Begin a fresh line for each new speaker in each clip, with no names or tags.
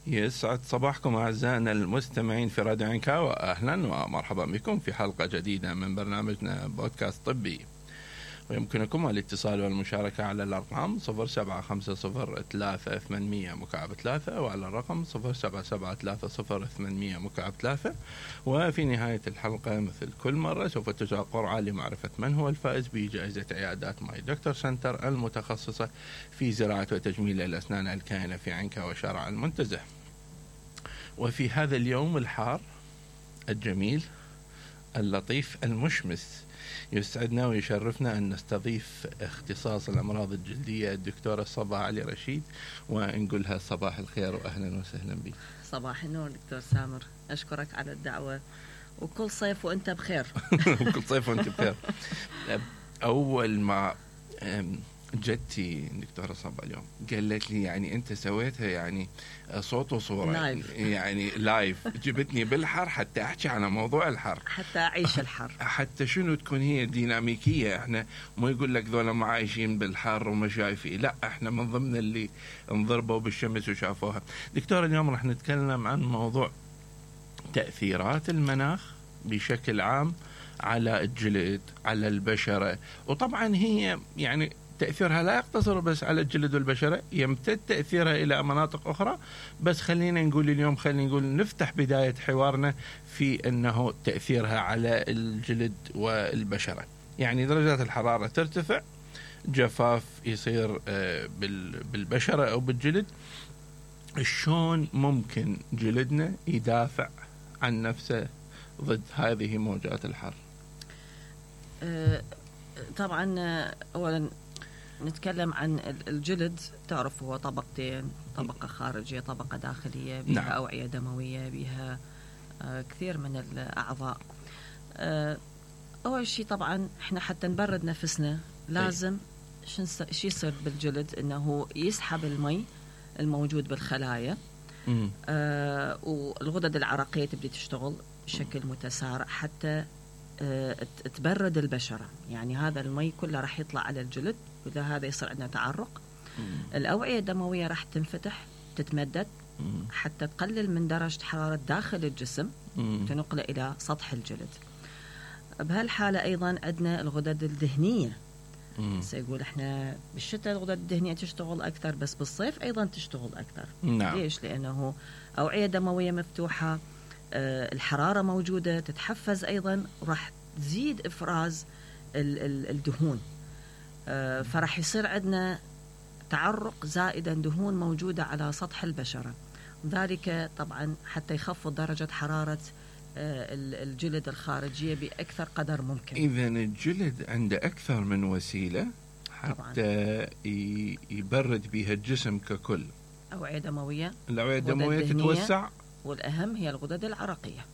يسعد صباحكم أعزائنا المستمعين في راديو عنكا، وأهلا ومرحبا بكم في حلقة جديدة من برنامجنا بودكاست طبي. ويمكنكم الاتصال والمشاركة على الأرقام 07503800 وعلى الرقم 077300 وفي نهاية الحلقة مثل كل مرة سوف تجرى قرعة لمعرفة من هو الفائز بجائزة عيادات ماي دكتور سنتر المتخصصة في زراعة وتجميل الأسنان الكائنة في عنكا وشارع المنتزه. وفي هذا اليوم الحار الجميل اللطيف المشمس يسعدنا ويشرفنا أن نستضيف اختصاص الأمراض الجلدية الدكتورة صبا علي رشيد، ونقولها صباح الخير وأهلا وسهلا بك.
صباح النور دكتور سامر، أشكرك على الدعوة، وكل صيف وأنت بخير.
كل صيف وأنت بخير. أول ما جدتي دكتورة صبا اليوم قالت لي يعني أنت سويتها يعني صوت وصورة
لايف.
يعني لايف، جبتني بالحر حتى أحكي على موضوع الحر،
حتى أعيش الحر،
حتى شنو تكون هي ديناميكية. احنا مو يقول لك ذولا ما عايشين بالحر وما شايفين، لا احنا من ضمن اللي انضربوا بالشمس وشافوها. دكتور اليوم راح نتكلم عن موضوع تأثيرات المناخ بشكل عام على الجلد، على البشرة، وطبعا هي يعني تأثيرها لا يقتصر بس على الجلد والبشرة، يمتد تأثيرها إلى مناطق أخرى. بس خلينا نقول اليوم، خلينا نقول نفتح بداية حوارنا في أنه تأثيرها على الجلد والبشرة. يعني درجات الحرارة ترتفع، جفاف يصير بالبشرة أو بالجلد. شلون ممكن جلدنا يدافع عن نفسه ضد هذه موجات الحر؟
طبعا أولا نتكلم عن الجلد. تعرف هو طبقتين، طبقة خارجية، طبقة داخلية، بها
نعم.
أوعية دموية، بها كثير من الأعضاء. أول شيء طبعا إحنا حتى نبرد نفسنا لازم شو يصير بالجلد، إنه يسحب المي الموجود بالخلايا، والغدد العرقية تبدي تشتغل بشكل متسارع حتى تبرد البشرة. يعني هذا المي كله راح يطلع على الجلد، وإذا هذا يصير عندنا تعرق. الأوعية الدموية راح تنفتح تتمدد حتى تقلل من درجة حرارة داخل الجسم، تنقله إلى سطح الجلد. بهالحالة أيضا عندنا الغدد الدهنية. سيقول إحنا بالشتاء الغدد الدهنية تشتغل أكثر، بس بالصيف أيضا تشتغل أكثر.
نعم.
ليش؟ لأنه أوعية دموية مفتوحة، الحرارة موجودة، تتحفز أيضا، وراح تزيد إفراز الدهون. فرح يصير عندنا تعرق زائدا، دهون موجودة على سطح البشرة، ذلك طبعا حتى يخفض درجة حرارة الجلد الخارجية بأكثر قدر ممكن.
إذن الجلد عنده أكثر من وسيلة حتى يبرد بها الجسم ككل.
أوعية دموية،
الأوعية الدموية تتوسع،
والأهم هي الغدد العرقية.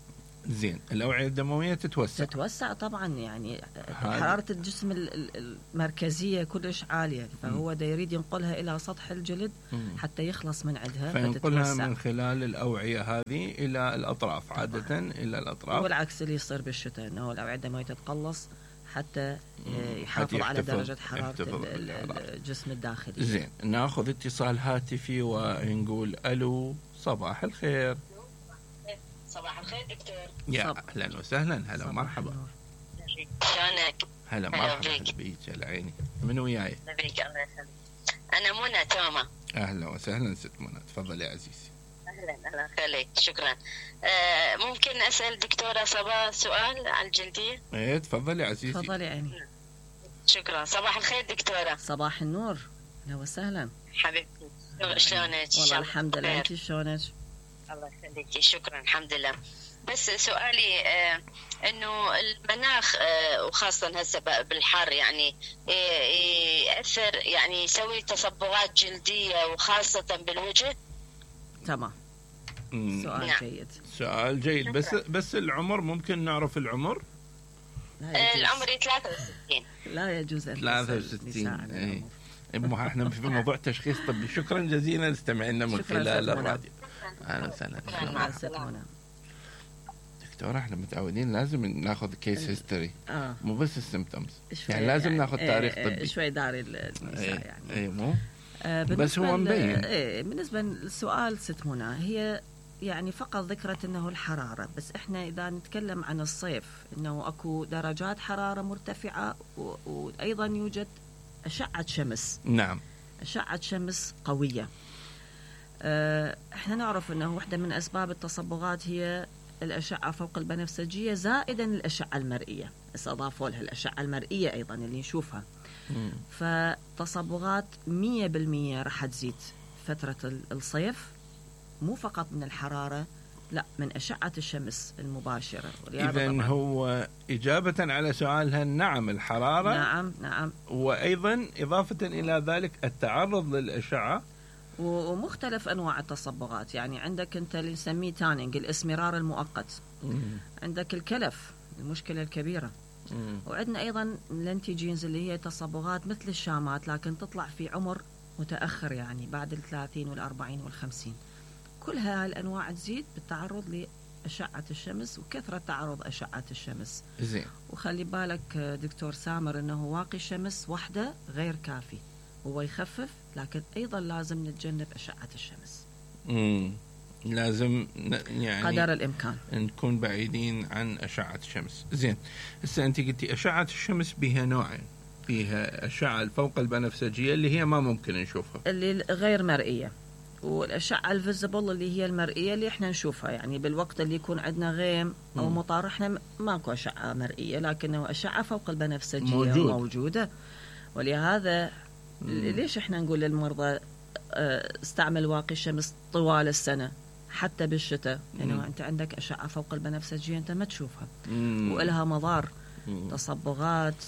زين، الأوعية الدموية تتوسع
طبعا. يعني حرارة الجسم المركزية كلش عالية، فهو دا يريد ينقلها إلى سطح الجلد حتى يخلص من عندها،
فينقلها من خلال الأوعية هذه إلى الأطراف. طبعاً. عادة إلى الأطراف،
والعكس اللي يصير بالشتاء، أنه الأوعية الدموية تتقلص حتى يحافظ على درجة حرارة الجسم الداخلي.
زين، ناخذ اتصال هاتفي ونقول ألو، صباح الخير.
صباح الخير دكتور.
يا أهلا وسهلا، هلا ومرحبا.
شلونك؟
هلا مرحبا بيك. على عيني. من وياي؟
بيك الله يسلمك. أنا منى توما.
أهلا وسهلا ست منى، تفضلي يا عزيزي.
أهلا خليك، شكرا. ممكن أسأل دكتورة صبا سؤال عن الجلدية؟
إيه تفضلي يا عزيزي.
تفضلي عيني.
شكرا. صباح الخير دكتورة.
صباح النور، أهلا وسهلا
حبيبتي، شلونك؟
والله الحمد لله، أنت شلونك؟
الله يخليكي، شكرا الحمد لله. بس سؤالي انه المناخ وخاصة هسه بالحر يعني يأثر، يعني يسوي تصبغات جلدية وخاصة بالوجه.
تمام، سؤال
نعم.
جيد.
سؤال جيد. بس العمر ممكن نعرف العمر؟
العمر 63.
لا يجوز
63. احنا في موضوع تشخيص طبي. شكرا جزيلا استمعنا من خلال الراديو. اهلا وسهلا. دكتور احنا متعودين لازم ناخذ كيس هيستوري، مو بس السيمبتومز، يعني لازم ناخذ تاريخ طبي
شوي داري النساء يعني.
مو بس هو مبين.
بالنسبة للسؤال ست منى، هي يعني فقط ذكرت أنه الحرارة، بس إحنا إذا نتكلم عن الصيف أنه أكو درجات حرارة مرتفعة وأيضا يوجد أشعة شمس.
نعم.
أشعة شمس قوية. إحنا نعرف أنه واحدة من أسباب التصبغات هي الأشعة فوق البنفسجية زائدا الأشعة المرئية، بس أضافوا لها الأشعة المرئية أيضا اللي نشوفها. فتصبغات 100% راح تزيد فترة الصيف، مو فقط من الحرارة، لا من أشعة الشمس المباشرة.
إذن هو إجابة على سؤالها نعم الحرارة.
نعم.
وأيضا إضافة إلى ذلك التعرض للأشعة
ومختلف أنواع التصبغات. يعني عندك أنت اللي نسميه تانينج، الإسمرار المؤقت. عندك الكلف، المشكلة الكبيرة. وعندنا أيضا الانتيجينز اللي هي تصبغات مثل الشامات لكن تطلع في عمر متأخر، يعني بعد 30 والأربعين والخمسين. كل هالأنواع تزيد بالتعرض لأشعة الشمس وكثرة تعرض أشعة الشمس.
زين.
وخلي بالك دكتور سامر أنه واقي الشمس وحده غير كافي، هو يخفف لكن أيضا لازم نتجنب أشعة الشمس.
لازم يعني
قدر الإمكان
نكون بعيدين عن أشعة الشمس. زين. هسه أنت قلتي أشعة الشمس بها نوعين، فيها أشعة فوق البنفسجية اللي هي ما ممكن نشوفها،
اللي غير مرئية، والأشعة الفيزيبل اللي هي المرئية اللي احنا نشوفها. يعني بالوقت اللي يكون عندنا غيم أو مطر احنا ماكو أشعة مرئية، لكنه أشعة فوق البنفسجية موجودة. ولهذا ليش احنا نقول للمرضى استعمل واقي الشمس طوال السنة حتى بالشتاء، لأنه أنت عندك أشعة فوق البنفسجية أنت ما تشوفها وإلها مضار، تصبغات،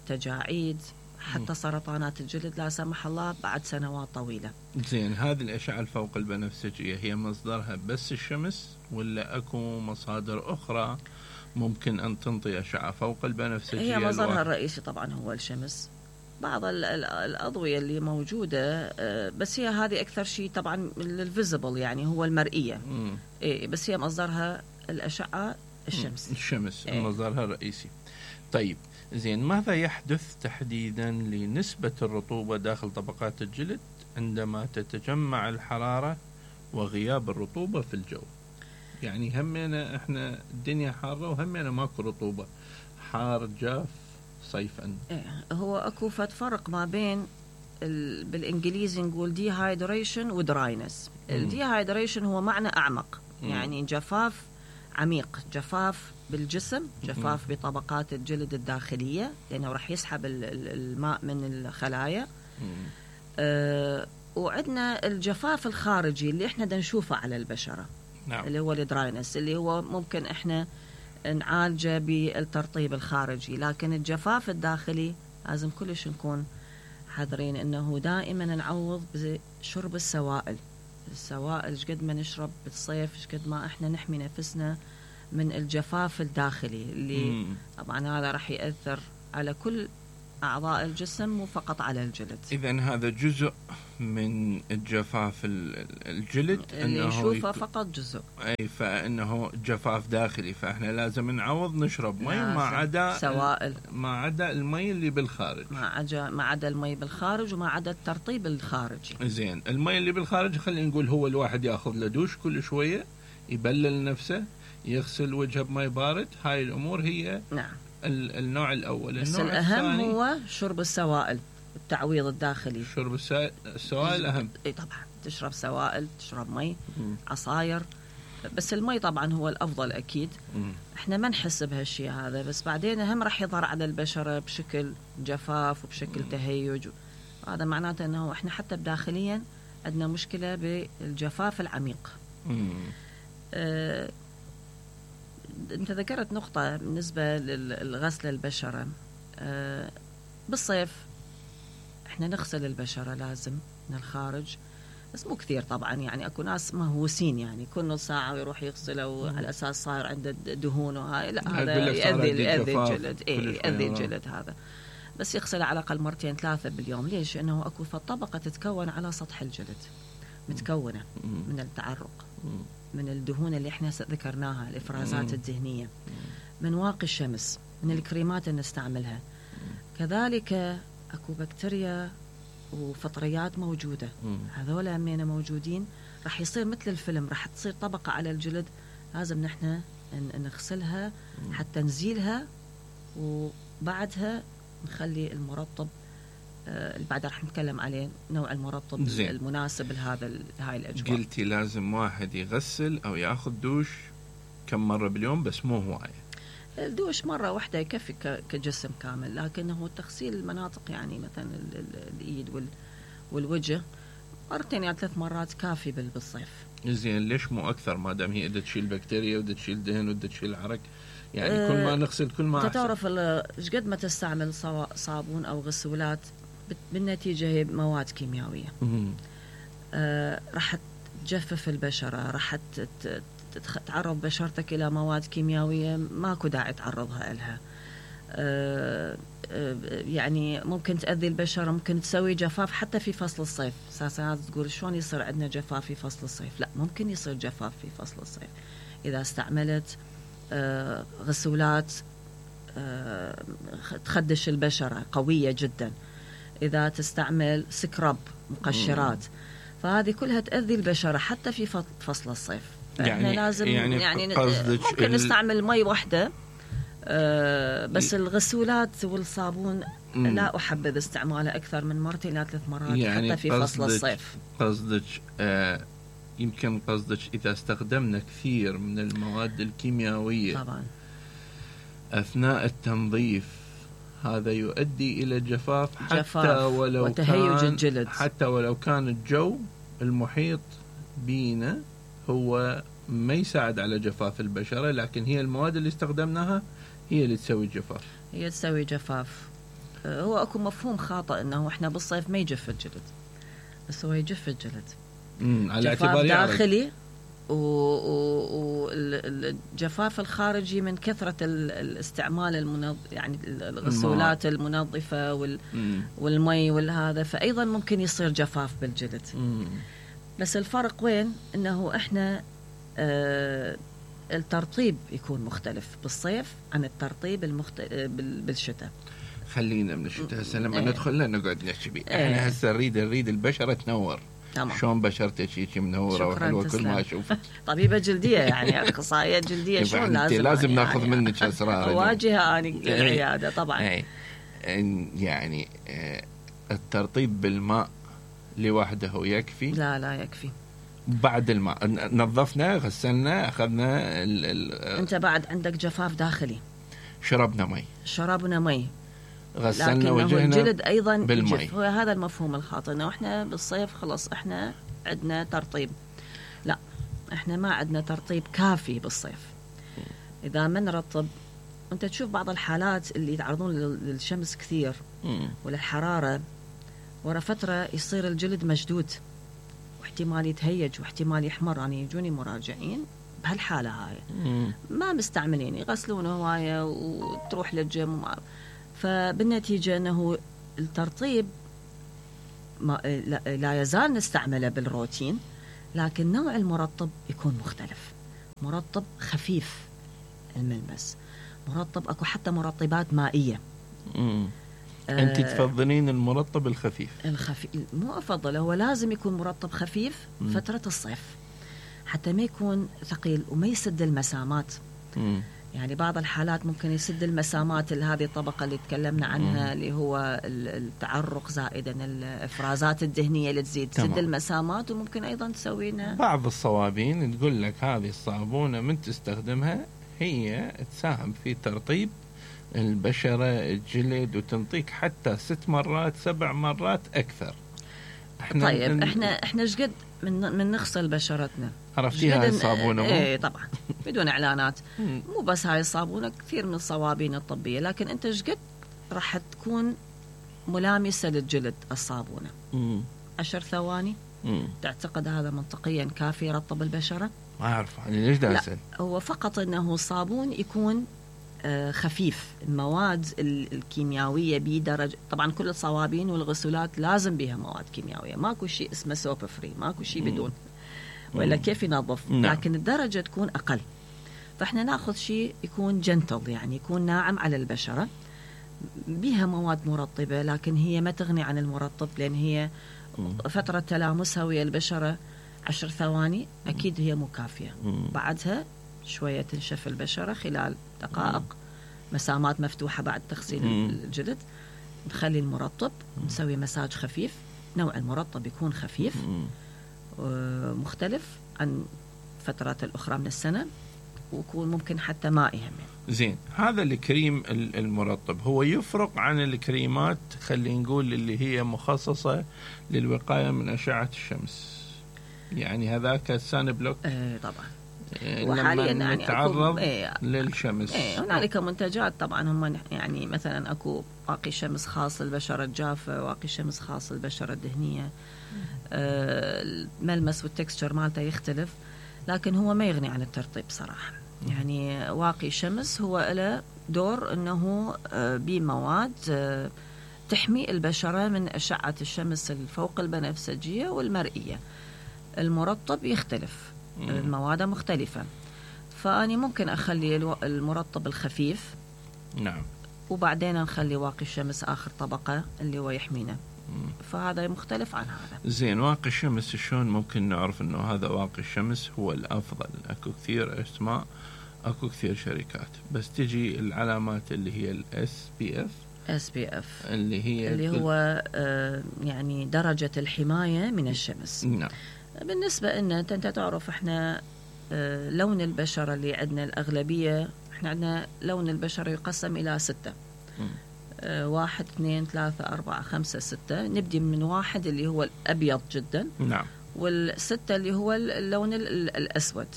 تجاعيد، حتى سرطانات الجلد لا سمح الله بعد سنوات طويلة.
زين. هذه الأشعة الفوق البنفسجية هي مصدرها بس الشمس ولا أكو مصادر أخرى ممكن أن تنطي أشعة فوق البنفسجية؟
هي مصدرها الرئيسي طبعا هو الشمس، بعض الأضوية اللي موجودة، بس هي هذه أكثر شيء طبعا الفيزيبل يعني هو المرئية. بس هي مصدرها الأشعة الشمس.
مصدرها الرئيسي. طيب زين، ماذا يحدث تحديدا لنسبة الرطوبة داخل طبقات الجلد عندما تتجمع الحرارة وغياب الرطوبة في الجو؟ يعني همنا احنا الدنيا حارة وهمنا ماكو رطوبة، حار جاف صيفا.
هو اكو فرق ما بين بالانجليزي نقول ديهايدريشن ودراينس. الديهايدريشن هو معنى اعمق، يعني جفاف عميق، جفاف بالجسم، جفاف بطبقات الجلد الداخلية لأنه راح يسحب الماء من الخلايا. وعندنا الجفاف الخارجي اللي احنا نشوفه على البشرة.
نعم.
اللي هو الدراينس، اللي هو ممكن احنا نعالجه بالترطيب الخارجي، لكن الجفاف الداخلي لازم كلش نكون حذرين انه دائما نعوض بشرب السوائل. السوائل قد ما نشرب بالصيف قد ما احنا نحمي نفسنا من الجفاف الداخلي اللي طبعا هذا راح يأثر على كل أعضاء الجسم مو فقط على الجلد.
إذن هذا جزء من الجفاف الجلد
اللي نشوفه فقط جزء،
أي فإنه جفاف داخلي، فإحنا لازم نعوض نشرب مي ما عدا
سوائل،
ما عدا المي اللي بالخارج،
ما عدا المي بالخارج وما عدا الترطيب الخارجي.
زين. المي اللي بالخارج خلينا نقول هو الواحد يأخذ له دوش كل شوية، يبلل نفسه، يغسل وجهه بمي بارد. هاي الأمور هي
نعم
النوع الأول.
بس
النوع
الأهم
الثاني
هو شرب السوائل، التعويض الداخلي.
شرب السوائل أهم.
اي طبعا تشرب سوائل، تشرب مي، عصاير، بس المي طبعا هو الأفضل أكيد. احنا ما نحس بهالشيء هذا، بس بعدين هم راح يظهر على البشرة بشكل جفاف وبشكل تهيج. هذا معناته أنه احنا حتى بداخليا عندنا مشكلة بالجفاف العميق. أنت ذكرت نقطة بالنسبة للغسل البشرة. بالصيف احنا نغسل البشرة لازم من الخارج، بس مو كثير طبعا. يعني اكو ناس مهووسين يعني كل نص ساعة ويروح يغسله على اساس صاير عنده دهون وهاي، لا هذا يأذي الجلد. يأذي الجلد هذا. بس يغسل على الاقل مرتين ثلاثة باليوم. ليش؟ لانه اكو طبقة تتكون على سطح الجلد متكونة من التعرق، من الدهون اللي احنا ذكرناها، الافرازات الدهنية، من واقي الشمس، من الكريمات اللي نستعملها. كذلك اكو بكتيريا وفطريات موجودة. هذول همين موجودين، راح يصير مثل الفيلم، راح تصير طبقة على الجلد، لازم نحن نغسلها حتى نزيلها، وبعدها نخلي المرطب اللي بعد راح نتكلم عليه نوع المرطب
زين.
المناسب هاي الأجواء.
قلتي لازم واحد يغسل أو ياخذ دوش كم مرة باليوم، بس مو هواية.
الدوش مرة واحدة يكفي كجسم كامل، لكنه تغسيل المناطق يعني مثلا الإيد والوجه مرتين يعني 3 مرات كافي بالصيف.
زين، ليش مو أكثر ما دام هي بدها تشيل بكتيريا وبدها تشيل دهن وبدها تشيل عرق؟ يعني كل ما نغسل كل ما أحسن.
تعرف ايش قد ما تستعمل صابون أو غسولات بالنتيجة هي مواد كيميائية. راح تجفف البشرة، راح تعرض بشرتك إلى مواد كيميائية ماكو داعي تعرضها لها. يعني ممكن تأذي البشرة، ممكن تسوي جفاف حتى في فصل الصيف. ساعات تقول شلون يصير عندنا جفاف في فصل الصيف؟ لا، ممكن يصير جفاف في فصل الصيف إذا استعملت غسولات تخدش البشرة قوية جدا، إذا تستعمل سكراب مقشرات، فهذه كلها تأذي البشرة حتى في فصل الصيف. يعني لازم يعني ممكن نستعمل مي واحدة بس الغسولات والصابون لا أحبذ استعماله أكثر من 2 إلى 3 مرات يعني حتى في فصل الصيف.
قصدك يمكن قصدك إذا استخدمنا كثير من المواد الكيميائية
طبعا
أثناء التنظيف هذا يؤدي إلى جفاف حتى ولو
وتهيج الجلد،
حتى ولو كان الجو المحيط بينا هو ما يساعد على جفاف البشرة، لكن هي المواد اللي استخدمناها هي اللي تسوي الجفاف.
هي تسوي جفاف. هو أكو مفهوم خاطئ إنه إحنا بالصيف ما يجف الجلد، بس هو يجف الجلد
على اعتبار
داخلي، والجفاف الخارجي من كثرة الاستعمال يعني الغسولات المنظفة والمي والهذا، فأيضا ممكن يصير جفاف بالجلد. بس الفرق وين؟ إنه إحنا الترطيب يكون مختلف بالصيف عن الترطيب بالشتاء.
خلينا من الشتاء هسه لما ندخل نقعد نحكي بيه. احنا هسه نريد البشرة تنور. شلون بشرتك هيك منوره وحلوه كل ما اشوفك؟
طبيبه جلديه يعني اخصائيه جلديه. شلون
لازم ناخذ منك اسرار
واجهه اني العياده طبعا.
يعني الترطيب بالماء لوحده يكفي؟
لا يكفي.
بعد الماء نظفنا غسلنا اخذنا
انت بعد عندك جفاف داخلي، شربنا مي
غسلنا وجهنا،
الجلد ايضا
بالمي.
هو هذا المفهوم الخاطئ انه احنا بالصيف خلص احنا عندنا ترطيب. لا، احنا ما عندنا ترطيب كافي بالصيف. اذا ما نرطب، انت تشوف بعض الحالات اللي يتعرضون للشمس كثير وللحراره، ورا فتره يصير الجلد مشدود واحتمال يتهيج واحتمال يحمر. يعني يجوني مراجعين بهالحاله هاي ما مستعملين، يغسلون هوايه وتروح للجيم فبالنتيجة أنه الترطيب لا يزال نستعمله بالروتين، لكن نوع المرطب يكون مختلف. مرطب خفيف الملمس، مرطب أكو حتى مرطبات مائية.
أنت تفضلين المرطب الخفيف؟
مو أفضل، هو لازم يكون مرطب خفيف فترة الصيف حتى ما يكون ثقيل وما يسد المسامات. يعني بعض الحالات ممكن يسد المسامات، هذه الطبقة اللي تكلمنا عنها اللي هو التعرق زائدا الإفرازات الدهنية اللي تزيد تسد المسامات، وممكن أيضا تسوينا
بعض الصوابين تقول لك هذه الصابونة من تستخدمها هي تساهم في ترطيب البشرة الجلد وتنطيك حتى 6 مرات 7 مرات أكثر.
طيب احنا ايش قد من نغسل بشرتنا؟
عرفتي هاي الصابونة؟
ايه طبعا بدون اعلانات. مو بس هاي الصابونة، كثير من الصوابين الطبية، لكن انت ايش قد راح تكون ملامسة للجلد الصابونة؟ 10 ثواني. تعتقد هذا منطقيا كافي يرطب البشرة؟
ما أعرف يعني ليش دا أسأل.
هو فقط انه الصابون يكون خفيف. المواد الكيميائية بدرجة، طبعا كل الصوابين والغسولات لازم بها مواد كيميائية، ماكو شيء اسمه سوب فري، ماكو شيء بدون، وإلا كيف ينظف؟ لكن الدرجة تكون أقل. فإحنا ناخذ شيء يكون جنتل، يعني يكون ناعم على البشرة، بها مواد مرطبة، لكن هي ما تغني عن المرطب، لأن هي فترة تلامسها ويا البشرة 10 ثواني أكيد هي مو كافية. بعدها شوية تنشف البشرة خلال دقائق، مسامات مفتوحة بعد تغسيل الجلد، نخلي المرطب، نسوي مساج خفيف. نوع المرطب يكون خفيف مختلف عن فترات الأخرى من السنة، ويكون ممكن حتى مائي هم.
زين، هذا الكريم المرطب هو يفرق عن الكريمات خلينا نقول اللي هي مخصصة للوقاية من أشعة الشمس، يعني هذاك السان بلوك؟
طبعا.
وحاليا لما نتعرض للشمس
هنالك منتجات طبعا هم يعني مثلا اكو واقي شمس خاص للبشرة الجافة، واقي شمس خاص للبشرة الدهنية. الملمس والتكستشر مالته يختلف، لكن هو ما يغني عن الترطيب صراحة. يعني واقي شمس هو له دور انه بمواد تحمي البشرة من أشعة الشمس الفوق البنفسجية والمرئية. المرطب يختلف، المواد مختلفة، فأني ممكن أخلي المرطب الخفيف،
نعم،
وبعدين نخلي واقي الشمس آخر طبقة اللي هو يحمينا. فهذا مختلف عن هذا.
زين، واقي الشمس شلون ممكن نعرف انه هذا واقي الشمس هو الافضل؟ اكو كثير اسماء، اكو كثير شركات، بس تجي العلامات اللي هي الاس بي اف، اللي
هو يعني درجة الحماية من الشمس.
نعم.
بالنسبة لنا انت تعرف احنا لون البشرة اللي عندنا الأغلبية، احنا عندنا لون البشرة يقسم إلى 6. 1 2 3 4 5 6. نبدي من 1 اللي هو الأبيض جدا،
نعم،
وال6 اللي هو اللون الأسود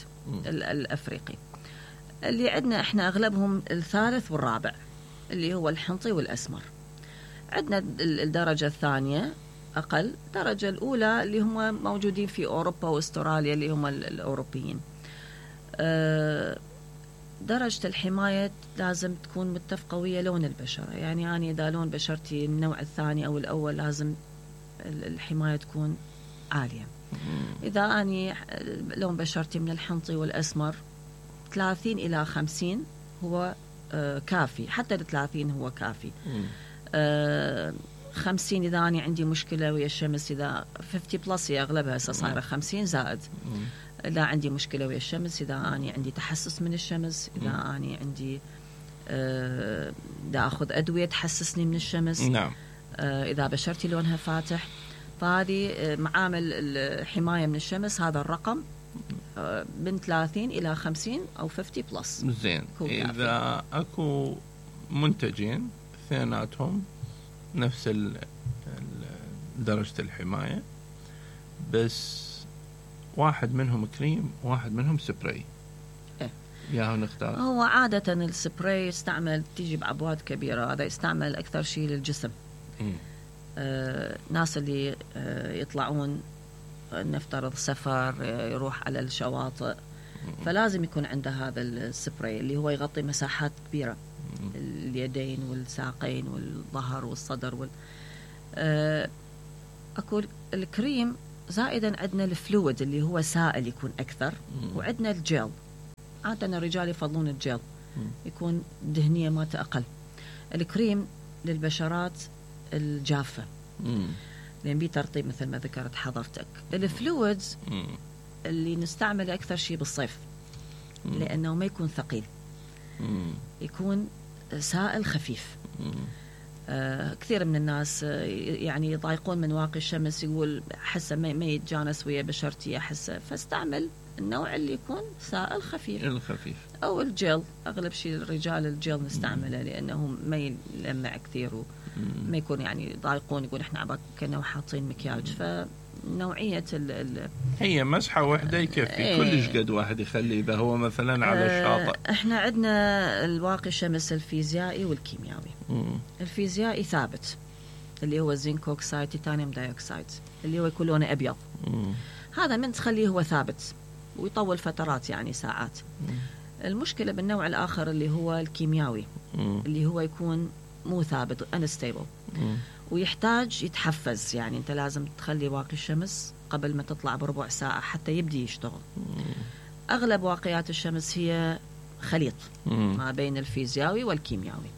الأفريقي. اللي عندنا احنا أغلبهم الثالث والرابع اللي هو الحنطي والأسمر. عندنا الدرجة الثانية أقل، الدرجة الأولى اللي هم موجودين في أوروبا وأستراليا اللي هم الأوروبيين. درجة الحماية لازم تكون متفقة ويا لون البشرة، يعني أنا إذا لون بشرتي النوع الثاني أو الأول لازم الحماية تكون عالية. إذا أنا لون بشرتي من الحنطي والأسمر 30 إلى 50 هو كافي، حتى 30 هو كافي. 50 إذا أنا عندي مشكلة ويا الشمس، إذا 50 بلس هي أغلبها صايرة 50 زائد. إذا عندي مشكلة ويا الشمس، إذا أنا عندي تحسس من الشمس، إذا أنا عندي إذا أخذ أدوية تحسسني من الشمس،
نعم.
إذا بشرتي لونها فاتح، فهذه معامل الحماية من الشمس هذا الرقم من 30 إلى 50 أو 50 بلس.
زين، إذا أكو منتجين اثنيناتهم نفس درجة الحماية، بس واحد منهم كريم واحد منهم سبراي، يا نختار.
هو عادة السبراي يستعمل، تيجي بعبوات كبيرة، هذا يستعمل أكثر شيء للجسم. ناس اللي يطلعون نفترض سفر، يروح على الشواطئ، فلازم يكون عنده هذا السبراي اللي هو يغطي مساحات كبيرة، اليدين والساقين والظهر والصدر أكو الكريم. زائدا عندنا الفلويد اللي هو سائل يكون أكثر، وعندنا الجيل. عادة الرجال يفضلون الجيل، يكون دهنية ماته أقل. الكريم للبشرات الجافة، لأن بيه ترطيب مثل ما ذكرت حضرتك. الفلويدز اللي نستعمله أكثر شيء بالصيف، لأنه ما يكون ثقيل، يكون سائل خفيف. كثير من الناس يعني يضايقون من واقي الشمس، يقول حسه ما يتجانس ويا بشرتي أحسه، فاستعمل النوع اللي يكون سائل خفيف،
الخفيف
أو الجيل. أغلب شيء الرجال الجيل نستعمله، لأنه ما يلمع كثير وما يكون يعني يضايقون، يقول إحنا عباك كنا حاطين مكياج. فنوعية
هي مسحة واحدة يكفي، كلش قد واحد يخلي إذا هو مثلا على الشاطئ.
إحنا عندنا الواقي الشمس الفيزيائي والكيميائي. الفيزيائي ثابت اللي هو الزنك أوكسايد، تيتانيوم دايوكسايد، اللي هو يكون لونه أبيض. هذا من تخليه هو ثابت ويطول فترات، يعني ساعات. المشكلة بالنوع الآخر اللي هو الكيميائي، اللي هو يكون مو ثابت، unstable، ويحتاج يتحفز. يعني أنت لازم تخلي واقي الشمس قبل ما تطلع بربع ساعة حتى يبدي يشتغل. أغلب واقيات الشمس هي خليط ما بين الفيزيائي والكيميائي.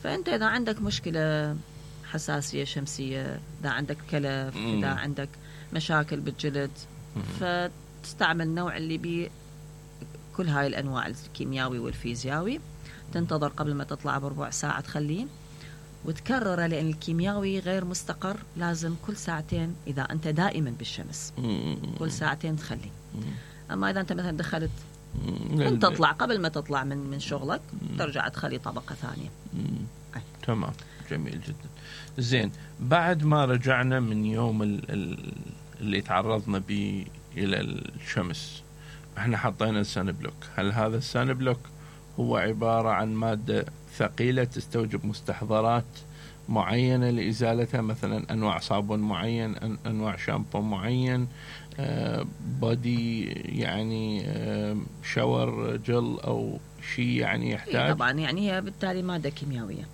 فأنت إذا عندك مشكلة حساسية شمسية، إذا عندك كلف، إذا عندك مشاكل بالجلد، فتستعمل نوع اللي بيه كل هاي الأنواع الكيميائي والفيزيائي. تنتظر قبل ما تطلع بربع ساعة تخليه وتكرره، لأن الكيميائي غير مستقر، لازم كل ساعتين إذا أنت دائما بالشمس كل ساعتين تخليه. أما إذا أنت مثلا دخلت تطلع قبل ما تطلع من شغلك ترجع تخلي طبقة ثانية.
تمام، جميل جدا. زين، بعد ما رجعنا من يوم اللي تعرضنا به إلى الشمس، احنا حطينا السان بلوك. هل هذا السان بلوك هو عبارة عن مادة ثقيلة تستوجب مستحضرات معينة لإزالتها، مثلا أنواع صابون معين، أنواع شامبو معين، بودي يعني شاور جل أو شيء يعني يحتاج؟
طبعا يعني هي بالتالي مادة كيميائية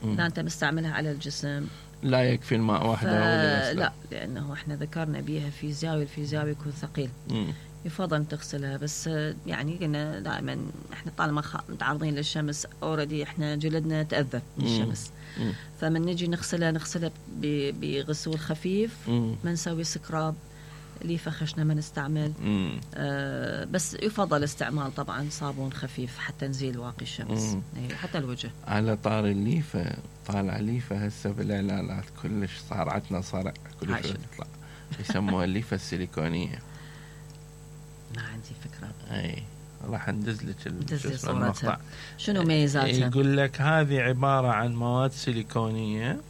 إذا أنت مستعملها على الجسم
لا يكفي الماء وحده.
لا، لأنه احنا ذكرنا بيها فيزيائي، الفيزيائي يكون ثقيل، يفضل تغسلها. بس يعني قلنا دائما احنا طالما متعرضين للشمس اوريدي احنا جلدنا تأذى من الشمس، فمن نجي نغسلها بغسول خفيف، ما نسوي سكراب، ليفة خشنة ما نستعمل. بس يفضل استعمال طبعا صابون خفيف حتى نزيل واقي الشمس، حتى الوجه.
على طار الليفة، طالع ليفة هسه بالإعلانات كلش صار عندنا صرع كلش يطلع، يسموها الليفة السيليكونية.
ما عندي فكرة.
اي راح ندز لك
المقطع. شنو ميزاتها؟
يقول لك هذه عبارة عن مواد سيليكونية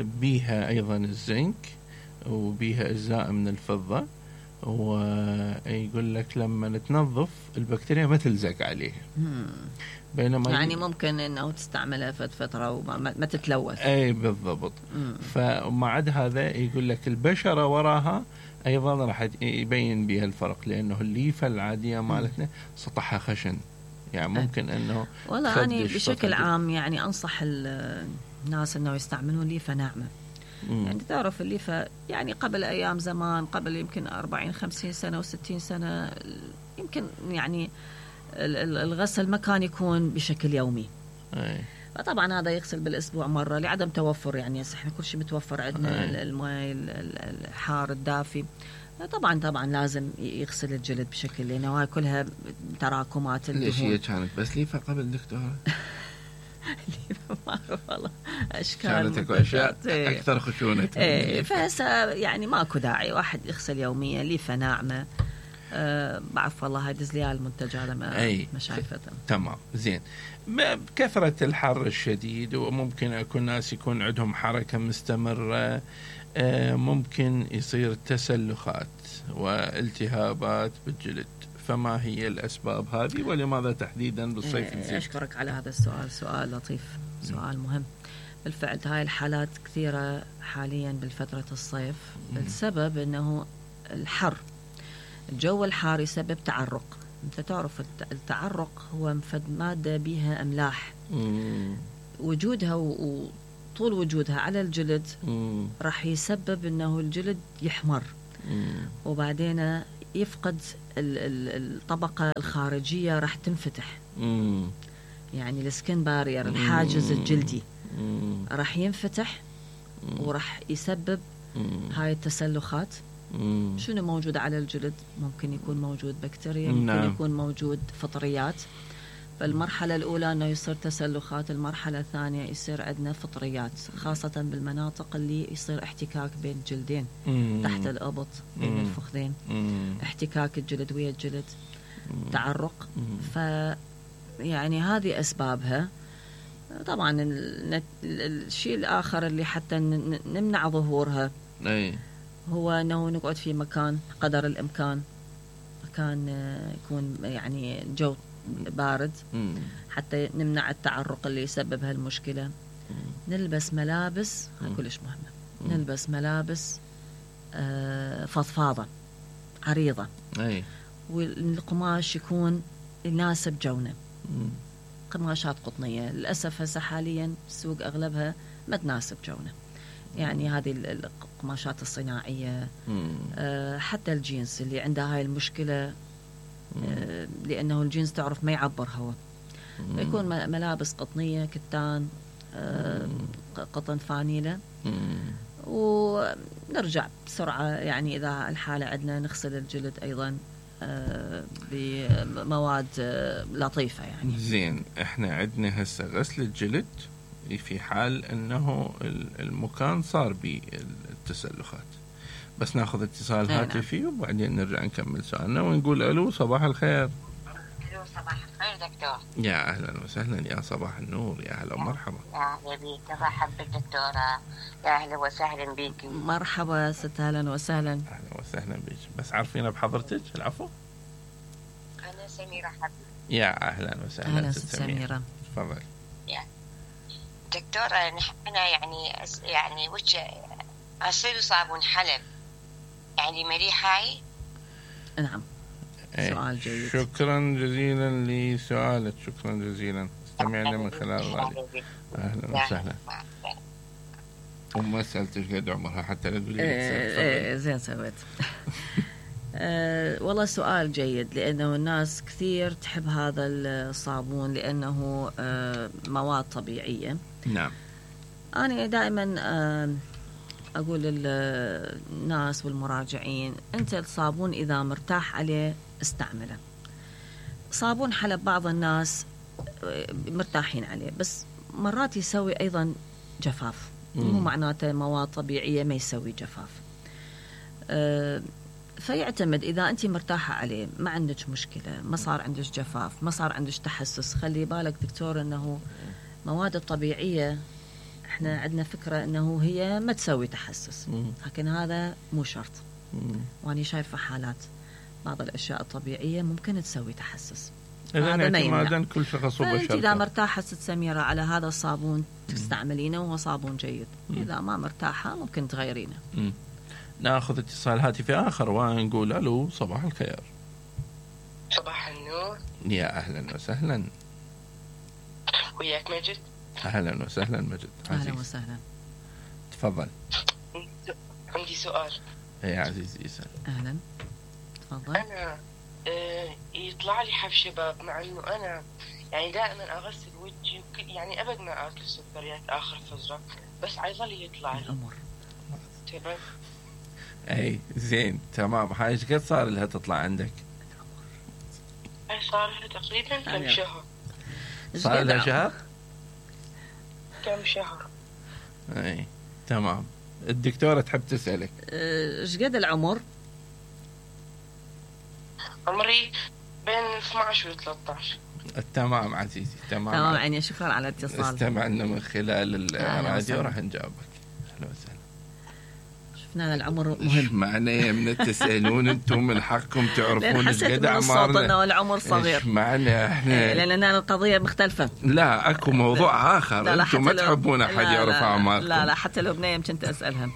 بيها أيضا الزنك وبيها أجزاء من الفضة، ويقول لك لما تنظف البكتيريا ما تلزق عليه. بينما
يعني ممكن انه تستعملها فترة وما تتلوث.
اي بالضبط. فمع عد هذا يقول لك البشرة وراها ايضا راح يبين بها الفرق، لانه الليفة العادية مالتنا سطحها خشن، يعني ممكن انه
والله أنا بشكل عام يعني انصح الناس انه يستعملون ليفة ناعمة. يعني تعرف الليفة يعني قبل ايام زمان، قبل يمكن 40-50 سنة و60 سنة، يمكن يعني الغسل ما كان يكون بشكل يومي. فطبعا هذا يغسل بالاسبوع مرة لعدم توفر، يعني احنا كل شيء متوفر عندنا، الماء الحار الدافي. طبعا لازم يغسل الجلد بشكل، لانه هاي كلها تراكمات الدهون.
ليش هي كانت بس ليفة قبل دكتورة؟
ليفة ما اعرف والله، اشكال
كانت اشياء اكثر خشونة.
فهسه يعني ماكو داعي واحد يغسل يوميا ليفة ناعمة. بعرف والله هدز لي المنتج هذا ما شايفته.
تمام، زين. بكثرة الحر الشديد، وممكن يكون ناس يكون عندهم حركة مستمرة، ممكن يصير تسلخات والتهابات بالجلد. فما هي الأسباب هذه، ولماذا تحديدا بالصيف الزين؟
أشكرك على هذا السؤال، سؤال لطيف، سؤال مهم. بالفعل هاي الحالات كثيرة حاليا بالفترة الصيف. السبب أنه الحر، الجو الحار يسبب تعرق. انت تعرف التعرق هو مادة بها أملاح، وجودها وطول وجودها على الجلد راح يسبب أنه الجلد يحمر، وبعدين يفقد الطبقة الخارجية، راح تنفتح. يعني السكين بارير، الحاجز الجلدي راح ينفتح، وراح يسبب هاي التسلخات. شنو موجود على الجلد؟ ممكن يكون موجود بكتيريا، ممكن يكون موجود فطريات. فالمرحلة الأولى أنه يصير تسلخات، المرحلة الثانية يصير عندنا فطريات، خاصة بالمناطق اللي يصير احتكاك بين الجلدين، تحت الأبط، بين الفخذين، احتكاك الجلد ويا الجلد، تعرق. يعني هذه أسبابها. طبعا الشيء الآخر اللي حتى نمنع ظهورها هو أنه نقعد في مكان قدر الإمكان، مكان يكون يعني جو بارد، حتى نمنع التعرق اللي يسبب هالمشكلة. نلبس ملابس كلش مهمة، نلبس ملابس فضفاضة عريضة، والقماش يكون يناسب جونا. قماشات قطنية للأسف هسه حاليا السوق أغلبها ما تناسب جونا، يعني هذه القماشات الصناعية. حتى الجينز اللي عندها هاي المشكلة، لأنه الجينز تعرف ما يعبر هواء، يكون ملابس قطنية، كتان، قطن، فانيلة، ونرجع بسرعة. يعني إذا الحالة عندنا نغسل الجلد أيضا بمواد لطيفة. يعني
زين، احنا عندنا هسه غسل الجلد في حال انه المكان صار بالتسلخات. بس ناخذ اتصال هاتفي وبعدين نرجع نكمل سؤالنا ونقول الو صباح الخير.
الو صباح الخير دكتور.
يا اهلا وسهلا، يا صباح النور، يا اهلا ومرحبا.
يا اهلا بيك، مرحبا بالدكتورة، يا اهلا وسهلا بيك.
مرحبا ست، اهلا وسهلا.
اهلا وسهلا بك، بس عارفين بحضرتك؟ العفو.
انا سميرة حبيبي.
يا اهلا وسهلا.
اهلا ست سميرة،
تفضل.
دكتورة، نحن يعني وش اصير صابون حلب يعني مليح هاي؟
نعم، سؤال جيد.
شكرا جزيلا لسؤالك، شكرا جزيلا. استمعنا من خلال الراديو. اهلا وسهلا. وما سألتش قد عمرها حتى لا تقولي.
زين سويت. والله سؤال جيد، لأنه الناس كثير تحب هذا الصابون لأنه مواد طبيعية.
نعم.
أنا دائما أقول للناس والمراجعين، أنت الصابون إذا مرتاح عليه استعمله. صابون حلب بعض الناس مرتاحين عليه، بس مرات يسوي أيضا جفاف. مو معناته مواد طبيعية ما يسوي جفاف. فيعتمد، إذا أنت مرتاحة عليه ما عندك مشكلة، ما صار عندك جفاف، ما صار عندك تحسس. خلي بالك دكتور أنه مواد الطبيعية احنا عندنا فكرة أنه هي ما تسوي تحسس، لكن هذا مو شرط. وأنا شايفة حالات بعض الأشياء الطبيعية ممكن تسوي تحسس.
هذا ما يمنع. كل شخص
وبشرته. إذا مرتاحة ست سميرة على هذا الصابون تستعملينه، وهو صابون جيد. إذا ما مرتاحة ممكن تغيرينه.
ناخذ اتصال هاتفي آخر ونقول ألو صباح الخير.
صباح النور.
يا أهلا وسهلا.
وياك مجد.
أهلا وسهلا مجد.
أهلا وسهلا.
تفضل.
عندي سؤال.
يا عزيزي اسأل.
أهلا تفضل.
أنا يطلع لي حب شباب، مع إنه أنا يعني دائما أغسل وجهي يعني أبد ما أكل سكريات آخر فترة، بس عيظل يطلع لي
الأمر.
تمام.
أي زين تمام. هاي ايش قد صار لها تطلع عندك؟
هاي صار لها تقريبا كم شهر.
صار لها شهر؟
كم شهر.
أي تمام. الدكتورة تحب تسألك
ايش قد العمر؟
عمري بين 12 و 13.
تمام عزيزي، تمام.
تمام يعني شكرا على الاتصال.
استمعنا من خلال الراديو، راح نجاوبك. اهلا وسهلا.
شفنا العمر مهم.
معنى من تسألون انتم من حقكم تعرفون ايش قد
اعمارنا. انه العمر صغير.
معنى احنا
لان القضيه مختلفه.
لا اكو موضوع اخر. انتم ما تحبون احد يعرف اعماركم.
لا حتى لو بنيه كنت اسالها.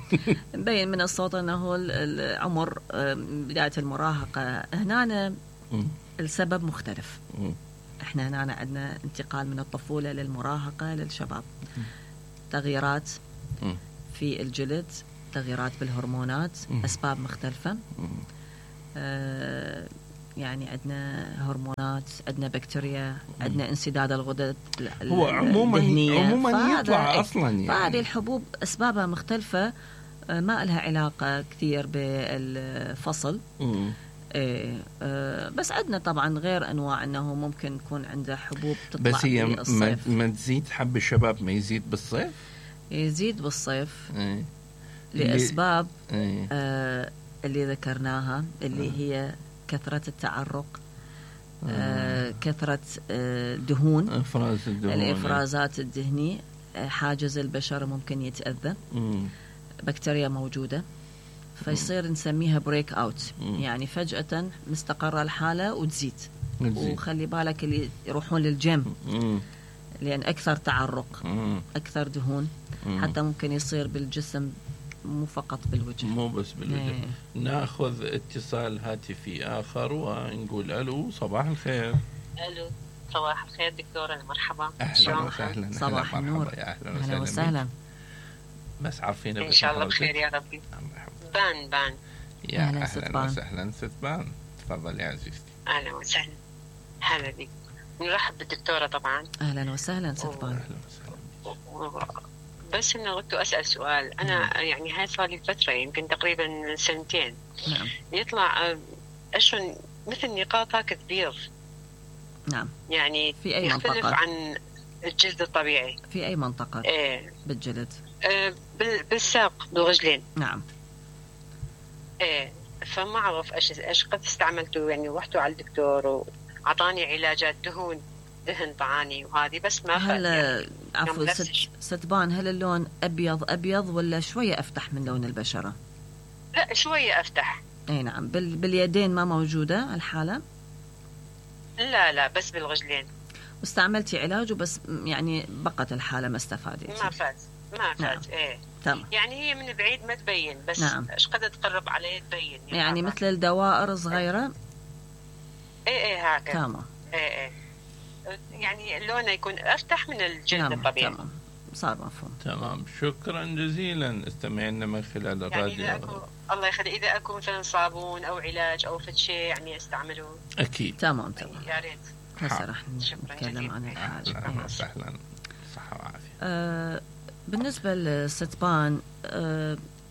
مبين من الصوت انه العمر بدايه المراهقه هنا السبب مختلف. احنا هنا عندنا انتقال من الطفوله للمراهقه للشباب. تغييرات في الجلد، تغييرات بالهرمونات، أسباب مختلفة. يعني عندنا هرمونات، عندنا بكتيريا، عندنا انسداد الغدد
هو عموما يطلع أصلا يعني.
فهذه الحبوب أسبابها مختلفة، ما لها علاقة كثير بالفصل. بس عندنا طبعا غير أنواع أنه ممكن يكون عنده حبوب تطلع
بس هي ما تزيد حب الشباب، ما يزيد بالصيف؟ يزيد
بالصيف لأسباب اللي ذكرناها، اللي هي كثرة التعرق، كثرة دهون، الإفرازات الدهنية، حاجز البشرة ممكن يتأذى، بكتيريا موجودة، فيصير نسميها بريك أوت. يعني فجأة مستقرة الحالة وتزيد. وخلي بالك اللي يروحون للجيم لأن أكثر تعرق، أكثر دهون، حتى ممكن يصير بالجسم مو فقط بالوجه،
مو بس بالوجه. ناخذ اتصال هاتفي آخر ونقول ألو صباح الخير.
ألو صباح الخير دكتورة، مرحبا.
أهلا وسهلا.
صباح النور.
يا أهلا وسهلا. بس عارفين
إن شاء الله بخير يا ربي. بان
يا أهلا وسهلا ست بان. تفضل يا عزيزتي.
أهلا وسهلا. هلا بك. نرحب بالدكتورة طبعا.
أهلا وسهلا ستبان.
بس إنه قلت أسأل سؤال. أنا يعني هاي صار لي فترة يمكن تقريبا 2
نعم.
يطلع أشون مثل نقاط هكا كبير.
نعم.
يعني
في أي
يختلف
منطقة؟
عن الجلد الطبيعي.
في أي منطقة؟
إيه.
بالجلد.
بالساق بالرجلين.
نعم.
إيه. فما أعرف إيش قد استعملته، يعني رحت على الدكتور وعطاني علاجات دهن طعاني وهذه بس ما
هل
يعني
عفوا ستبان، هل اللون أبيض ولا شوية أفتح من لون البشرة؟
لا شوية أفتح.
أي نعم. باليدين ما موجودة الحالة؟
لا بس بالرجلين.
واستعملتي علاج وبس يعني بقت الحالة ما استفادتي؟
ما فات.
نعم.
إيه.
تمام.
يعني هي من بعيد ما تبين، بس
نعم.
ايش قد تقرب عليه تبين
يعني مثل الدوائر صغيرة.
ايه هكذا.
تمام.
ايه يعني لونه يكون افتح من الجلد.
نعم.
الطبيعي.
تمام. صار مفهوم.
تمام. شكرا جزيلا. استمعنا من خلال الراديو.
يعني الله يخلي اذا اكو مثلا صابون او علاج او فد شيء يعني استعملوه.
اكيد.
تمام.
يا ريت.
هسه راح نتكلم عن الحاجة.
اهلا وسهلا. صحة وعافية.
بالنسبة للستبان،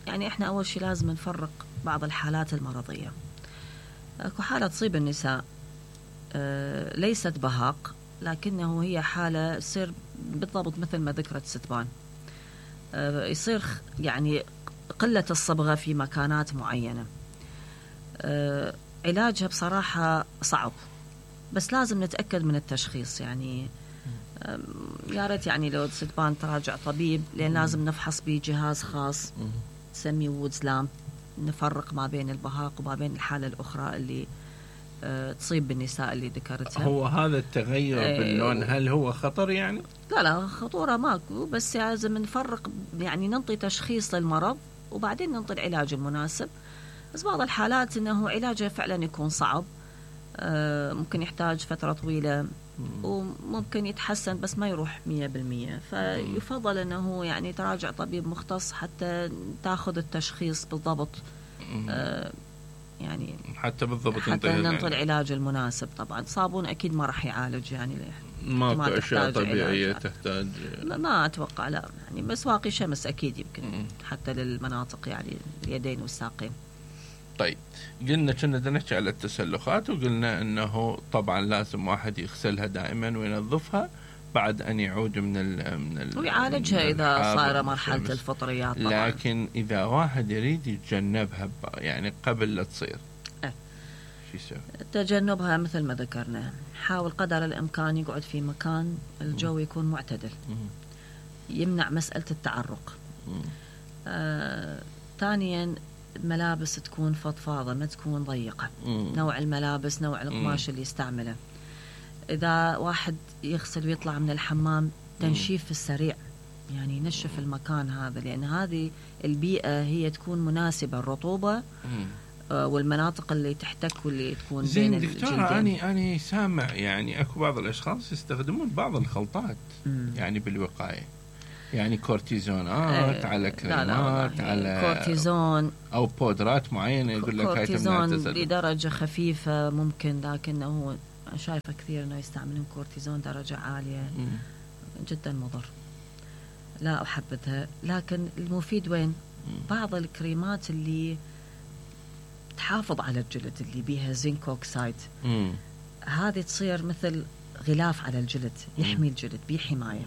يعني احنا اول شيء لازم نفرق بعض الحالات المرضية. اكو حالة تصيب النساء ليست بهاق، لكنه هي حالة تصير بالضبط مثل ما ذكرت ستبان. يصير يعني قلة الصبغة في مكانات معينة. علاجها بصراحة صعب، بس لازم نتأكد من التشخيص. يعني يا ريت يعني لو ستبان تراجع طبيب، لأن لازم نفحص بجهاز خاص نسميه وودز لامب، نفرق ما بين البهاق وما بين الحالة الأخرى اللي تصيب بالنساء اللي ذكرتها.
هو هذا التغير باللون هل هو خطر يعني؟
لا خطورة ماكو، بس لازم نفرق، يعني ننطي تشخيص للمرض وبعدين ننطي العلاج المناسب. بس بعض الحالات انه علاجها فعلا يكون صعب، ممكن يحتاج فترة طويلة وممكن يتحسن بس ما يروح 100%. فيفضل انه يعني تراجع طبيب مختص حتى تاخذ التشخيص بالضبط، يعني
حتى بالضبط
حتى ننطي العلاج المناسب. طبعا صابون اكيد ما راح يعالج، يعني
ما في اشياء طبيعيه تحتاج.
ما اتوقع، لا يعني بس واقي شمس اكيد يمكن حتى للمناطق يعني اليدين والساقين.
طيب قلنا كنا بدنا نحكي على التسلخات، وقلنا انه طبعا لازم واحد يغسلها دائما وينظفها بعد ان يعود من
ويعالجها اذا صار مرحله الفطريات طبعا.
لكن اذا واحد يريد يتجنبها يعني قبل لا تصير شو يسوي؟
تجنبها مثل ما ذكرنا، حاول قدر الامكان يقعد في مكان الجو يكون معتدل، يمنع مساله التعرق. ثانيا الملابس تكون فضفاضة ما تكون ضيقة. نوع الملابس، نوع القماش اللي يستعمله. إذا واحد يغسل ويطلع من الحمام، تنشيف السريع، يعني ينشف المكان هذا، لأن هذه البيئة هي تكون مناسبة، الرطوبة والمناطق اللي تحتك واللي تكون بين الجلدين.
أنا سامع يعني أكو بعض الأشخاص يستخدمون بعض الخلطات يعني بالوقاية، يعني كورتيزونات على كريمات على
كورتيزون
أو بودرات معينة، يقول لك هاي
كورتيزون لدرجة خفيفة ممكن، لكنه شايفة كثير أنه يستعملون كورتيزون درجة عالية جدا مضر، لا أحبذها. لكن المفيد وين؟ بعض الكريمات اللي تحافظ على الجلد اللي بيها زنك أوكسايد، هذه تصير مثل غلاف على الجلد، يحمي الجلد بحماية.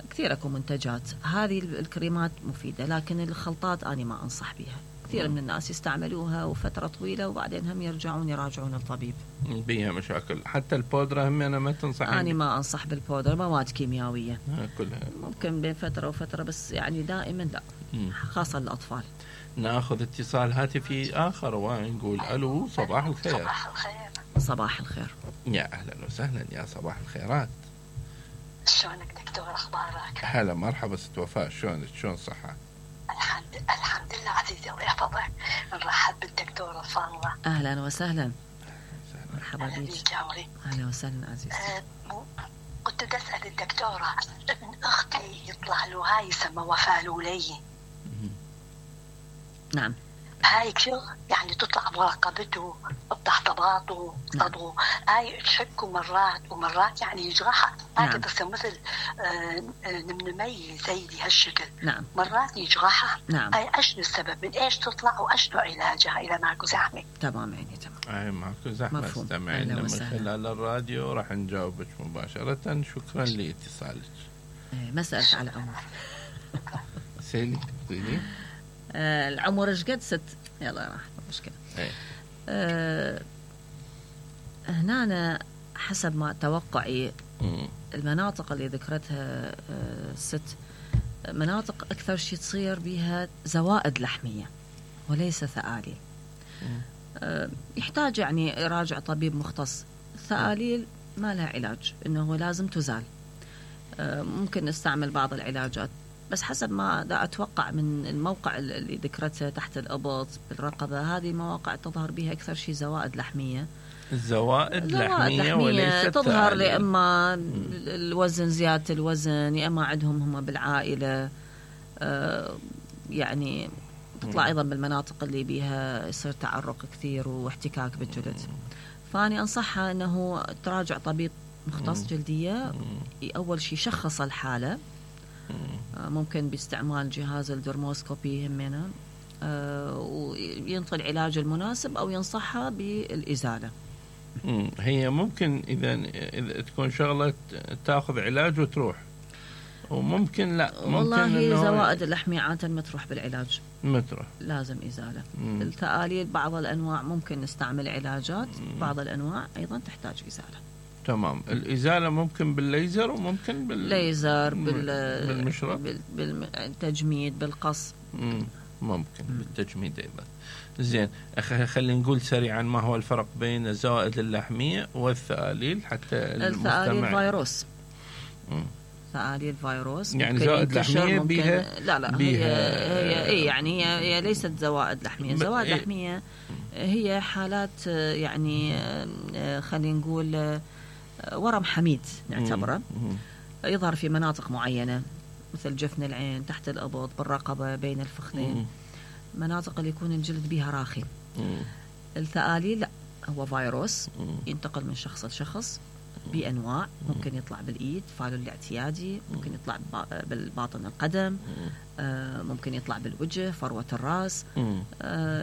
كثير اكو منتجات هذه الكريمات مفيدة، لكن الخلطات أنا ما أنصح بها. كثير من الناس يستعملوها وفترة طويلة وبعدين هم يرجعون يراجعون الطبيب،
بيها مشاكل. حتى البودرة هم أنا ما تنصح؟
أنا ما أنصح بالبودرة، مواد كيميائية
كلها
ممكن بين فترة وفترة، بس يعني دائما لا، خاصة للأطفال.
ناخذ اتصال هاتفي آخر ونقول ألو، صباح الخير.
صباح الخير.
يا أهلا وسهلا، يا صباح الخيرات.
شلونك دكتور، اخبارك؟
هلا مرحبا ست وفاء، شلونك؟ شلون الصحة؟
الحمد لله عزيزي، الله يحفظك. نرحب بالدكتورة فاضلة.
اهلا وسهلا. مرحبا بك. اهلا وسهلا عزيزتي.
كنت اسال الدكتورة، ابن اختي يطلع له هاي يسمى وفاة لولي.
نعم.
هاي كثير يعني تطلع برقبته بتحتباطه صدره، هاي تحكه مرات ومرات يعني يجرحها، هاي تصير مثل نمنمية زي هالشكل.
نعم.
مرات يجرحها.
نعم.
هاي ايش السبب؟ من ايش تطلع وايش نوع علاجها اذا ماكو زحمة؟
تمام عيني تمام.
اي ماكو زحمة، استمعينا من خلال الراديو راح نجاوبك مباشرة. شكرا لاتصالك.
مسألة على العمر.
سيلي قولي.
العمر ايش قد ست؟ يلا راح مشكلة. هنا أنا حسب ما توقعي المناطق اللي ذكرتها الست مناطق أكثر شيء تصير بها زوائد لحمية وليس ثآليل. يحتاج يعني يراجع طبيب مختص. الثآليل ما لها علاج، إنه لازم تزال. ممكن نستعمل بعض العلاجات، بس حسب ما دا أتوقع من الموقع اللي ذكرته تحت الإبط بالرقبة، هذه مواقع تظهر بها أكثر شيء زوائد لحمية.
زوائد لحمية وليست
تظهر لإما الوزن، زيادة الوزن، يا إما عندهم هم بالعائلة يعني تطلع أيضا بالمناطق اللي بيها يصير تعرق كثير واحتكاك بالجلد. فأنا أنصحها أنه تراجع طبيب مختص جلدية، أول شيء شخص الحالة، ممكن باستعمال جهاز الدرموسكوبي همنا، وينطي العلاج المناسب أو ينصحها بالإزالة.
هي ممكن إذا تكون شغلة تأخذ علاج وتروح، وممكن لا، ممكن
والله زوائد اللحمية عادة ما تروح بالعلاج،
متروح
لازم إزالة. الثآليل بعض الأنواع ممكن نستعمل علاجات، بعض الأنواع أيضا تحتاج إزالة.
تمام. الإزالة ممكن بالليزر وممكن
بالليزر،
بالمشرط،
بالتجميد، بالقص.
ممكن بالتجميد أيضا. زين، خلينا نقول سريعا ما هو الفرق بين الزوائد اللحمية والثآليل حتى
الثآليل فيروس. ثآليل فيروس
يعني زوائد لحمية بيها
لا هي يعني هي ليست زوائد لحمية. زوائد لحمية هي حالات يعني خلينا نقول ورم حميد نعتبره، يظهر في مناطق معينة مثل جفن العين، تحت الإبط، بالرقبة، بين الفخذين، مناطق اللي يكون الجلد بها راخي. الثآليل لا، هو فيروس ينتقل من شخص لشخص بأنواع، ممكن يطلع بالإيد فالو الاعتيادي، ممكن يطلع بالباطن القدم، ممكن يطلع بالوجه، فروة الرأس.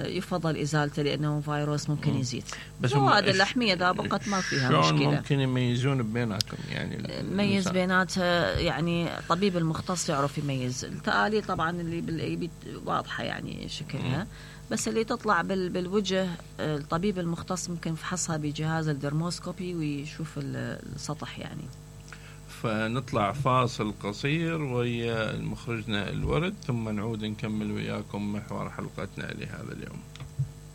يفضل إزالته لأنه فيروس ممكن يزيد. زوائد اللحمية إذا بقت ما فيها مشكلة.
ممكن يميزون بيناتهم، يعني
ميز بيناتها، يعني طبيب المختص يعرف يميز. الثآليل طبعا اللي بالإيد واضحة يعني شكلها، بس اللي تطلع بالوجه الطبيب المختص ممكن يفحصها بجهاز الدرموسكوبي ويشوف السطح يعني.
فنطلع فاصل قصير ويا مخرجنا الورد، ثم نعود نكمل وياكم محور حلقتنا لهذا اليوم.